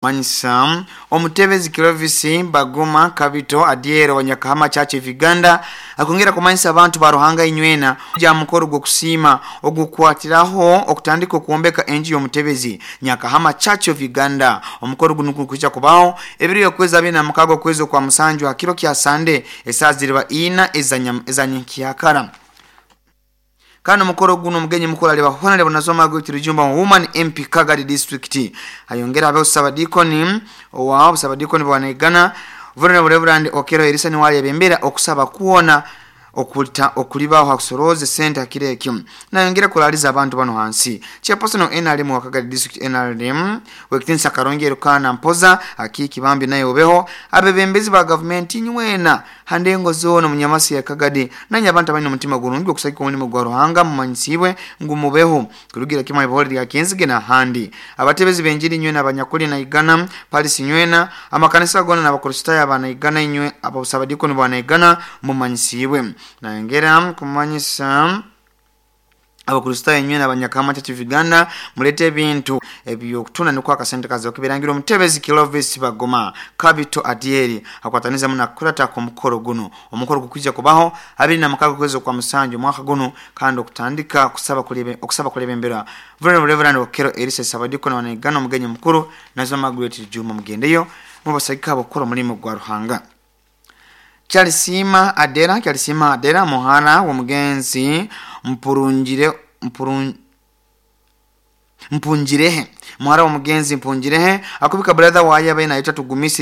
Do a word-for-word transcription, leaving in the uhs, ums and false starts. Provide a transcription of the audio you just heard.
Manyisa omutebezi Clovis Baguma Kabito Adiero wa Nyakahama Church of Uganda akongera kumanyisa abantu ba Ruhanga inywena ja mukoro gw'okusiima ogukwatiraho okutandika okwombeka enju y'omutebezi Nyakahama Church of Uganda. Omukoro guno gukwija kubaho ebiro y'okwezi abiri na mukaaga okwezi okwa musanju ha kiro kya Sande esaaha ziriba ina eza nyenkyakara. Kandi omukoro guno omugenyi mukuru aliba Honorable Nazoma Margaret Rujumba, Woman M P, Kagadi District. Ayongera abeho Sabadikoni owa Sabadikoni bwanaigana, Venerable Reverend Okero Erisa, niwe alebembera okusaba kwona okulita okulibaho hakusoroze sente hakiro ekyo. Nayongera kuraliza abantu bano hansi chairperson wa N R M wa Kagadi District, N R M wekitinisa Karongi Erukana Mpoza Akiki Bambi, naye obeho. Abebembezi ba gavumenti nywena handengo zona munyamasi ya Kagadi, nanye abantu abalina omutima gurungi okusagika omulimu gwa Ruhanga, mumanyisibwe ngu mubeho kurugira kimwe ibihore lya Kenzige n'ahandi. Abatebezi benjiri nywena abanyakuli Naigana Palisi nywena, amakanisa gona n'Abakristaayo abanaigana inywe, abasabadikoni bwanaigana, mumanyisibwe. Nayongera kumanyisa Abakristaayo inywena Abanyakama Church of Uganda, mulete ebintu ebyokutunda nikwo akasente kaza okubirangira. Omutebezi Clovis Bagoma Kabito Adieri akwatanizamu nakukurata omukoro guno. Omukoro gukwija kubaho abiri na mukaaga okwezi okwa musanju omwaka guno, kandi okutandika kusaba kulebe okusaba kulebembera Venerable Reverend Okero Elisa Sabadiko wanaigana, omugenyi mukuru Nazo Margaret Juma. Mugendeyo mubasagika abakora omulimu gwa Ruhanga. Kyalisima Adera, Kyalisima Adera, muhara w'omugenzi Mpurungire Mpurun Mpungirehe, muhara w'omugenzi Mpungirehe, akubika brother waye abaye nayeta Tugumisi.